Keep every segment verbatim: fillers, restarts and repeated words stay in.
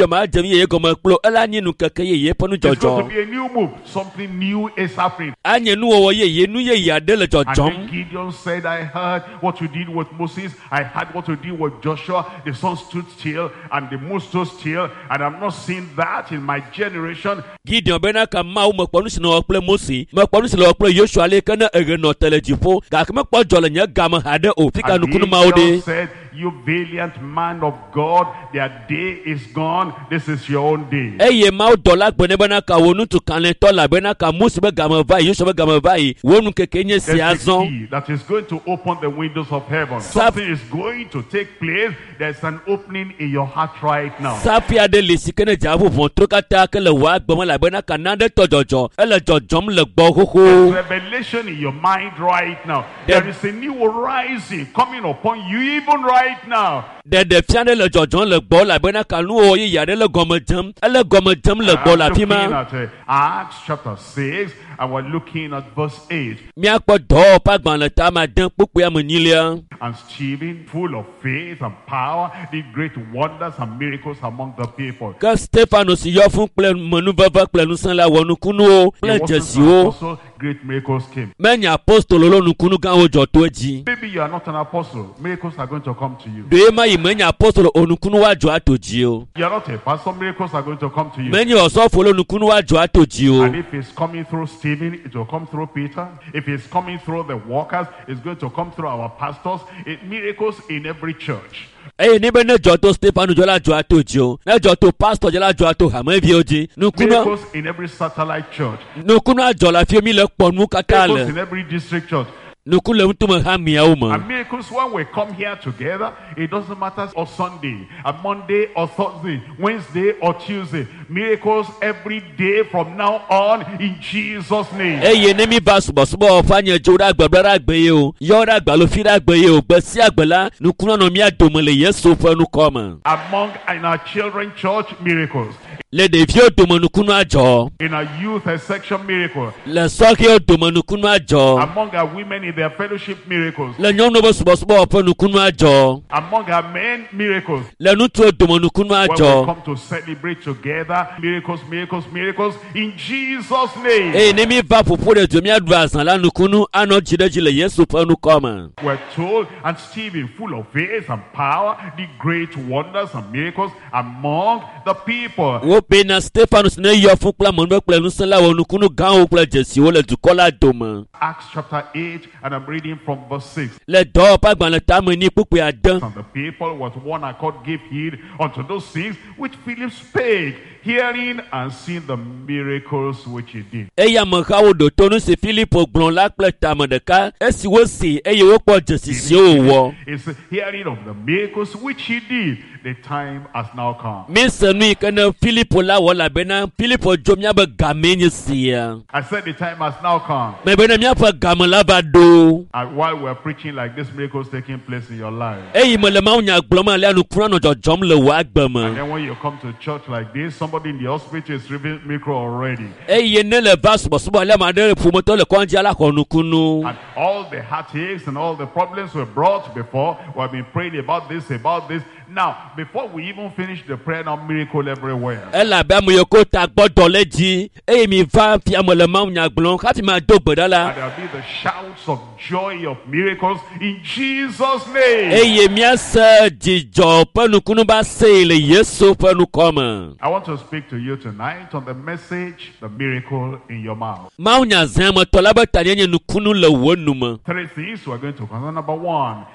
Gideon ma dze nu yeye gɔme kple ela nye nukeke yeye ƒe It's going to nudzɔdzɔ. be a new move. Something new is happening. Anye nuwɔwɔ yeye nu yeye aɖe le And then dzɔdzɔm. Gideon said, I heard what you did with Moses. I heard what you did with Joshua. The sun stood still and the moon stood still. And I'm not seeing that in my generation. Gideon bena ka Mawu mekpɔ nu si nɔwɔ kple Mose, mekpɔ nu si nɔwɔ kple Yosua ale ke ne eɣe nɔ te le dziƒo gake mekpɔ dzɔ le nye game haɖe o. Fi ka And the nukunu mawo angel ɖe? said, You valiant man of God, their day is gone. This is your own day. Eye Mawu dɔla gblɔ nɛ bena ka wò ŋutsu kalẽtɔ la bena ka Mose be game va yi, Yosua be game va yi, wò nukeke nye sia There's a zɔ. key that is going to open the windows of heaven. Saf- Something is going to take place. There's an opening in your heart right now. Safi aɖe li si ke ne dze aʋu ʋɔtru katã ke le wò agbe me elabena ka nane tɔ dzɔdzɔ ele dzɔdzɔm le gbɔ xoxo. Revelation in your mind right now. There- There is a new horizon coming upon you even right now. Ɖeɖefia ɖe le dzɔdzɔm le gbɔ elabena ka nuwɔwɔ yeye aɖe le gɔme dzem ele gɔme dzem le gbɔ I'm le afi looking ma. at uh, Acts chapter six, and we're looking at verse eight. Míakpɔ dɔwɔwɔ ƒe agbalẽ ta ame ade kpukpui ame enyilia. And Stephen, full of faith and power, did great wonders and miracles among the people. Ke Stefano si yɔ fũ kple menuveve kple ŋusẽ la wɔ nukunuwo He kple wasn't an dzesiwo. apostle, great miracles came. Menye apostolo lo nukunu gãwo dzɔ to edzi. Maybe you are not an apostle. Miracles are going to come to you. Ɖe ma yi menye apostolo o nukunu woadzɔ ato dzi o. You are not a pastor. Miracles are going to come to you. Menye osɔfo lo nukunu woadzɔ ato dzi o. And if it's coming through Stephen, it will come through Peter. If it's coming through the workers, it's going to come through our pastors. It, miracles in every church. Eye ne be ne dzɔ to Stefano dzɔ la dzɔ ato dzi o. Ne dzɔ to pastor dzɔ la dzɔ ato hameviwo dzi. Nukunu Miracles in every satellite church. nukunu adzɔ le afi mi le kpɔ nu katã Miracles le. in every district church. Nuku le ŋutume hameawo me. And miracles when we come here together, it doesn't matter or Sunday, a Monday or Thursday, Wednesday or Tuesday. Miracles every day from now on in Jesus' name. Eye ne mi va subɔsubɔ ƒe anye dzo ɖe agbe bla ɖe agbe ye o, yɔ ɖe agbe alo fi ɖe agbe ye o, gbe sia gbe la, nukunu anɔ mía dome le Yesu ƒe nukɔ me. Among in our children church, miracles. Le ɖeviwo dome nukunu adzɔ, In our youth section, miracle. le sɔhɛwo dome nukunu adzɔ, Among our women in their fellowship, miracles. le nyɔnuwo ƒe subɔsubɔ ƒe nukunu adzɔ, Among our men, miracles. le ŋutsuwo dome nukunu When we adzɔ. come to celebrate together, miracles, miracles, miracles, in Jesus' name. Eye ne mi va ƒoƒo ɖe du míaɖu azã la nukunu anɔ dzi ɖe dzi le Yesu ƒe nukɔ me. We're told, and Stephen, full of faith and power, did great wonders and miracles among the people. Wobena Stefano si ne yɔ fũ kple amenuve kple ŋusẽ la wɔ nukunu gãwo kple dzesiwo le dukɔ la dome. Acts chapter eight, and I'm reading from verse six. Le dɔwɔƒe agbalẽ tame ni kpukpui ade. And the people with one accord gave heed unto those things which Philip spake, hearing and seeing the miracles which he did. Eye amehawo ɖo to nu si Filipo gblɔ la kple tame ɖeka esi wosi eye wokpɔ dzesi siwo wòwɔ. It's hearing of the miracles which he did. The time has now come. Míese nu yi ke ne Filipo la wɔ elabena Filipo dzo míabe gamee nye sia. I said the time has now come. Mebe ne míaƒe game la va ɖo. And while we're preaching like this, miracles taking place in your life. Eyi me le Mawu nya gblɔm alea nukunu anɔ dzɔdzɔm le wò agbe And me. then when you come to church like this, somebody in the hospital is receiving miracle already. Eye ne le va subɔsubɔ alea ame aɖe ƒometɔ le kɔdzi ala xɔ nukunu. And all the heartaches and all the problems were brought before. We have been praying about this, about this. Now, before we even finish the prayer, now miracle everywhere. Elabe ame yiwo ko ta gbɔ dɔ le dzi eye mi va fia me le Mawu nya gblɔm hafi ma do gbe ɖa la. And there'll be the shouts of joy of miracles in Jesus' name. Eye míase dzidzɔ ƒe nukunu ba see le Yesu ƒe nukɔ me. I want to speak to you tonight on the message, the miracle in your mouth. Mawu nya zã me tɔ la be ta nye nukunu le wò nu me. Three things we're going to consider. Number one,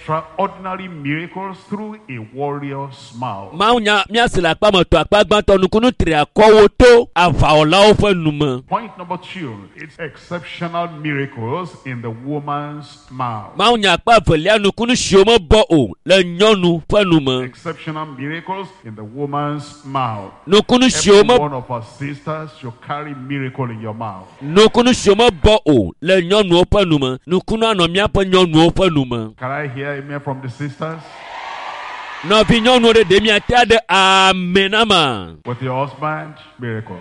extraordinary miracles through a warrior's mouth. Mawu nya míase le akpa me tɔ akpa gbãtɔ nukunu tri akɔwo to aʋawɔlawo ƒe nu me. Point number two, it's exceptional miracles in the woman's mouth. Mawu nya akpa evelia nukunu siwo mebɔ o le nyɔnu ƒe nu me. Exceptional miracles in the woman's mouth. Nukunu siwo Every me one of our sisters should carry miracle in your mouth. nukunu siwo mebɔ o le nyɔnuwo ƒe nu me. Nukunu anɔ míaƒe nyɔnuwo ƒe nu me. Can I hear amen from the sisters? Nɔvi nyɔnuwo ɖe ɖe miate aɖe amen ama. With your husband, miracle.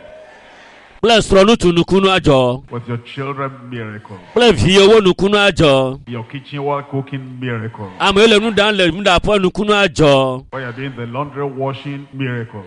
Kple srɔ̃ŋutsu nukunu adzɔ. With your children, miracle. Kple viwo nukunu adzɔ. Your kitchen while cooking, miracle. Ame yiwo le nu ɖam le nuɖaƒe nukunu adzɔ. While you're doing the laundry washing, miracle.